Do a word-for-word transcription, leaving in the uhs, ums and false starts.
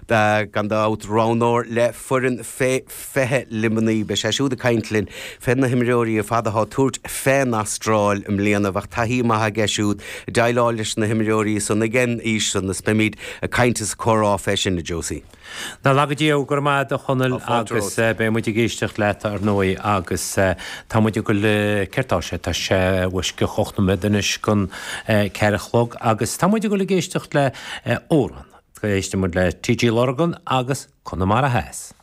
Gan dabht roghnóir le foireann fé fiche Luimnigh beidh sé siúd ag caint linn fé na himreoirí ar fad atá ag tabhairt fén Astráil i mbliana bheadh taithí maith aige siúd déileáil leis na himreoirí san ag an aois san is beimid ag caint is comhrá fé sin a Josie. Ná laga Dia go raibh maith agat a Chonaill agus beidh muid ag éisteacht leat ar ndóigh agus tá muid ag dul céard tá sé tá sé uisce ocht nóiméad anois chun ceathair a chlog agus tá muid ag dul ag éisteacht le amhrán. Éistfidh muid le TG Lurgan agus Conamara Theas.